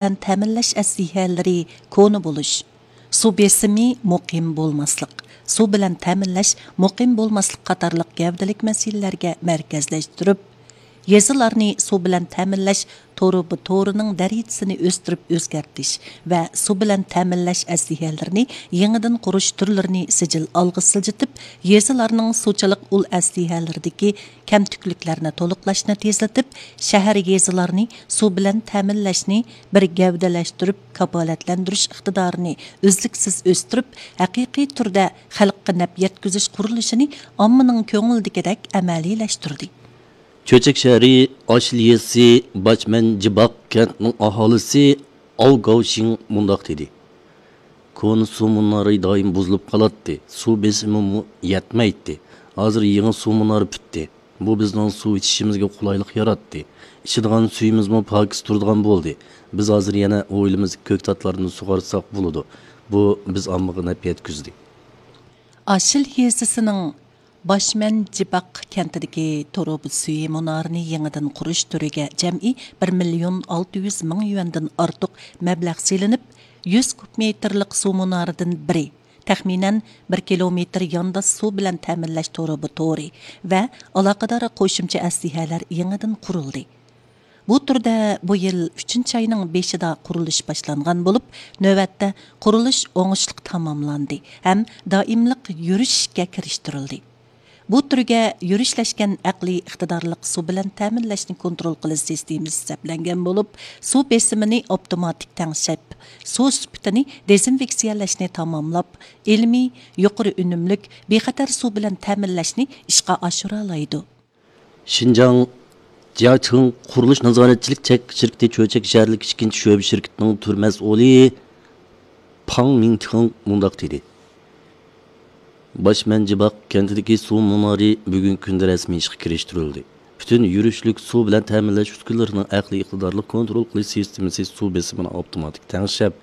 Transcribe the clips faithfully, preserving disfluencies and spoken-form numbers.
بىلەن تەمىنلەش ئەسلىھەلىرى كونا بولۇش، سۇ بېسىمى مۇقىم بولماسلىق، سۇ بىلەن تەمىنلەش مۇقىم بولماسلىق قاتارلىق گەۋدىلىك مەسىلىلەرگە مەركەزلەشتۈرۈپ، يېزىلارنى سۇ بىلەن تەمىنلەش تۇرۇبا تورىنىڭ دەرىجىسىنى ئۆستۈرۈپ ئۆزگەرتىش ۋە سۇ بىلەن تەمىنلەش ئەسلىھەلىرىنى يېڭىدىن قۇرۇش تۈرلىرىنى سىجىل ئالغا سىلجىتىپ، يېزىلارنىڭ سۇچىلىق ئۇل ئەسلىھەلىرىدىكى كەمتۈكلۈكلەرنى تولۇقلاشنى تېزلىتىپ، شەھەر، يېزىلارنى سۇ بىلەن تەمىنلەشنى بىر گەۋدىلەشتۈرۈپ، كاپالەتلەندۈرۈش ئىقتىدارىنى ئۈزلۈكسىز ئۆستۈرۈپ، ھەقىقىي تۈردە خەلققە نەپ يەتكۈزۈش قۇرۇلۇشىنى ئاممىنىڭ كۆڭلىدىكىدەك ئەمەلىيلەشتۈردى. چۆچەك شەھىرى ئاشىل يېزىسى باشمەنجىباق كەنتىنىڭ ئاھالىسى ئاۋ گاۋشىڭ مۇنداق دېدى: كونا سۇ مۇنارى دائىم بۇزۇلۇپ قالاتتى، سۇ بېسىمىمۇ يەتمەيتتى. ھازىر يېڭى سۇ مۇنارى پۈتتى. بۇ بىزنىڭ سۇ ئىچىشىمىزگە قولايلىق ياراتتى. ئىچىدىغان سۈيىمىزمۇ پاكىز تۇرىدىغان بولدى. بىز ھازىر يەنە ھويلىمىزدىكى كۆكتاتلاردىن سۇغارساق بولىدۇ. بۇ بىز ئاممىغا نەپ يەتكۈزدى. ئاشىل يېزىسىنىڭ باشمەنجىباق كەنتىدىكى تۇرۇبا سۈيى مۇنارىنى يېڭىدىن قۇرۇش تۈرىگە جەمئىي بىر مىليون ئالتە يۈز مىڭ يۈەندىن ئارتۇق مەبلەغ سېلىنىپ، يۈز كۇب مېتىرلىق سۇ مۇنارىدىن بىرى، تەخمىنەن بىر كىلومېتىر يانداش سۇ بىلەن تەمىنلەش تۇرۇبا تورى ۋە ئالاقىدار قوشۇمچە ئەسلىھەلەر يېڭىدىن قۇرۇلدى. بۇ تۈردە بۇ يىل ئۈچىنچى ئاينىڭ بېشىدا قۇرۇلۇش باشلانغان بولۇپ، نۆۋەتتە قۇرۇلۇش ئوڭۇشلۇق تاماملاندى ھەم دائىملىق يۈرۈشكە كىرىشتۈرۈلدى. بۇ تۈرگە يۈرۈشلەشكەن ئەقلىي ئىقتىدارلىق سۇ بىلەن تەمىنلەشنى كونترول قىلىش سىستېمىسى سەپلەنگەن بولۇپ، سۇ بېسىمىنى ئاپتوماتىك تەڭشەپ، سۇ سۈپىتىنى دېزىنفېكسىيەلەشنى تاماملاپ، ئىلمىي، يۇقىرى ئۈنۈملۈك، بىخەتەر سۇ بىلەن تەمىنلەشنى ئىشقا ئاشۇرالايدۇ. شىنجاڭ جياچىڭ قۇرۇلۇش نازارەتچىلىك چەكلىك شىركىتى چۆچەك شەھەرلىك ئىككىنچى شۆبە شىركىتىنىڭ تۈر مەسئۇلى پاڭ مىڭتىڭ مۇنداق دېدى: باشمەنجىباق كەنتىدىكى سۇ مۇنارى بۈگۈنكى كۈندە رەسمىي ئىشقا كىرىشتۈرۈلدى. پۈتۈن يۈرۈشلۈك سۇ بىلەن تەمىنلەش ئۈسكۈنىلىرىنىڭ ئەقلىي ئىقتىدارلىق كونترول قىلىش سىستېمىسى سۇ بېسىمىنى ئاپتوماتىك تەڭشەپ،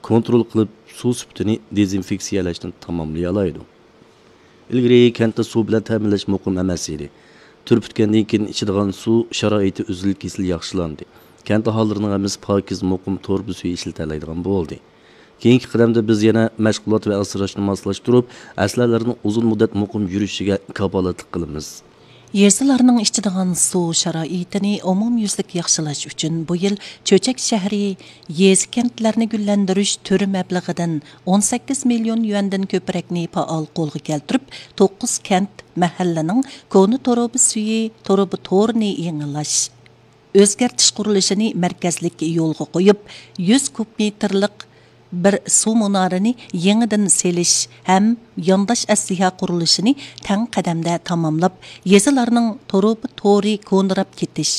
كونترول قىلىپ، سۇ سۈپىتىنى دېزىنفېكسىيەلەشنى تاماملىيالايدۇ. ئىلگىرى كەنتتە سۇ بىلەن تەمىنلەش مۇقىم ئەمەس ئىدى. تۈر پۈتكەندىن كېيىن ئىچىدىغان سۇ شارائىتى ئۈزۈل-كېسىل ياخشىلاندى. كەنت ئاھالىلىرىنىڭ ھەممىسى پاكىز، مۇقىم تۇرۇبا سۈيى ئىشلىتەلەيدىغان بولدى. كېيىنكى قەدەمدە بىز يەنە مەشغۇلات ۋە ئاسراشنى ماسلاشتۇرۇپ، ئەسلىھەلەرنىڭ ئۇزۇن مۇددەت مۇقىم يۈرۈشىگە كاپالەتلىك قىلىمىز. يېزىلارنىڭ ئىچىدىغان سۇ شارائىتىنى ئومۇميۈزلۈك ياخشىلاش ئۈچۈن بۇ يىل چۆچەك شەھىرى يېزا، كەنتلەرنى گۈللەندۈرۈش تۈرى مەبلىغىدىن ئون سەككىز مىليون يۈەندىن كۆپرەكنى پائال قولغا كەلتۈرۈپ، توققۇز كەنت، مەھەللىنىڭ كونا تۇرۇبا سۈيى تۇرۇبا تورىنى يېڭىلاش، ئۆزگەرتىش قۇرۇلۇشىنى مەركەزلىك يولغا قويۇپ، يۈز كۇب مېتىرلىق بىر سۇ مۇنارىنى يېڭىدىن سېلىش ھەم يانداش ئەسلىھە قۇرۇلۇشىنى تەڭ قەدەمدە تاماملاپ، يېزىلارنىڭ تۇرۇبا تورى كونىراپ كېتىش،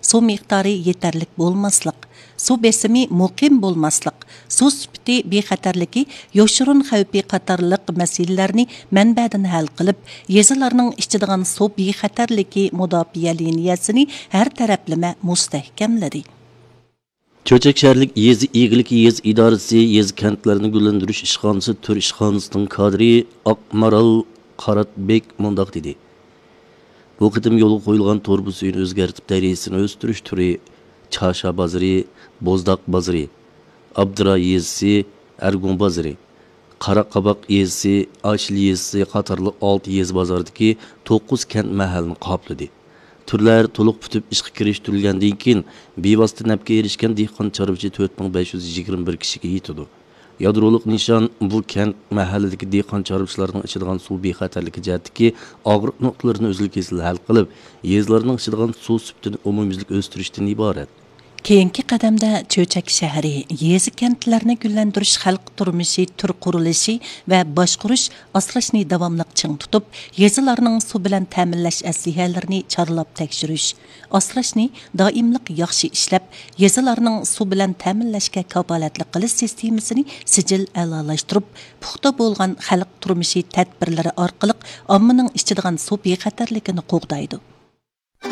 سۇ مىقدارى يېتەرلىك بولماسلىق، سۇ بېسىمى مۇقىم بولماسلىق، سۇ سۈپىتى بىخەتەرلىكى، يوشۇرۇن خەۋپى قاتارلىق مەسىلىلەرنى مەنبەدىن ھەل قىلىپ، يېزىلارنىڭ ئىچىدىغان سۇ بىخەتەرلىكى مۇداپىئە لىنىيەسىنى ھەر تەرەپلىمە مۇستەھكەملىدى. چۆچەك شەھەرلىك يېزا ئىگىلىكى يېزا ئىدارىسى يېزا، كەنتلەرنى گۈللەندۈرۈش ئىشخانىسى تۈر ئىشخانىسىنىڭ كادىرى ئاقمارال قاراتبېك مۇنداق دېدى: بۇ قېتىم يولغا قويۇلغان تۇرۇبا سۈيىنى ئۆزگەرتىپ، دەرىجىسىنى ئۆستۈرۈش تۈرى چاشا بازىرى، بوزداق بازىرى، ئابدۇرا يېزىسى، ئەرگۇڭ بازىرى، قاراقاباق يېزىسى، ئاشىل يېزىسى قاتارلىق ئالتە يېزا بازاردىكى توققۇز كەنت، مەھەللىنى قاپلىدى. تۈرلەر تولۇق پۈتۈپ ئىشقا كىرىشتۈرۈلگەندىن كېيىن، بىۋاسىتە نەپكە ئېرىشكەن دېھقان چارۋىچى تۆت مىڭ بەش يۈز يىگىرمە بىر كىشىگە يېتىدۇ. يادرولۇق نىشان بۇ كەنت، مەھەللىدىكى دېھقان چارۋىچىلارنىڭ ئىچىدىغان سۇ بىخەتەرلىكى جەھەتتىكى ئاغرىق نۇقتىلىرىنى ئۈزۈل-كېسىل ھەل قىلىپ، يېزىلارنىڭ ئىچىدىغان سۇ سۈپىتىنى ئومۇميۈزلۈك ئۆستۈرۈشتىن ئىبارەت. كېيىنكى قەدەمدە چۆچەك شەھىرى يېزا، كەنتلەرنى گۈللەندۈرۈش خەلق تۇرمۇشى تۈر قۇرۇلۇشى ۋە باشقۇرۇش، ئاسراشنى داۋاملىق چىڭ تۇتۇپ، يېزىلارنىڭ سۇ بىلەن تەمىنلەش ئەسلىھەلىرىنى چارلاپ تەكشۈرۈش، ئاسراشنى دائىملىق ياخشى ئىشلەپ، يېزىلارنىڭ سۇ بىلەن تەمىنلەشكە كاپالەتلىك قىلىش سىستېمىسىنى سىجىل ئەلالاشتۇرۇپ، پۇختا بولغان خەلق تۇرمۇشى تەدبىرلىرى ئارقىلىق ئاممىنىڭ ئىچىدىغان سۇ بىخەتەرلىكىنى قوغدايدۇ.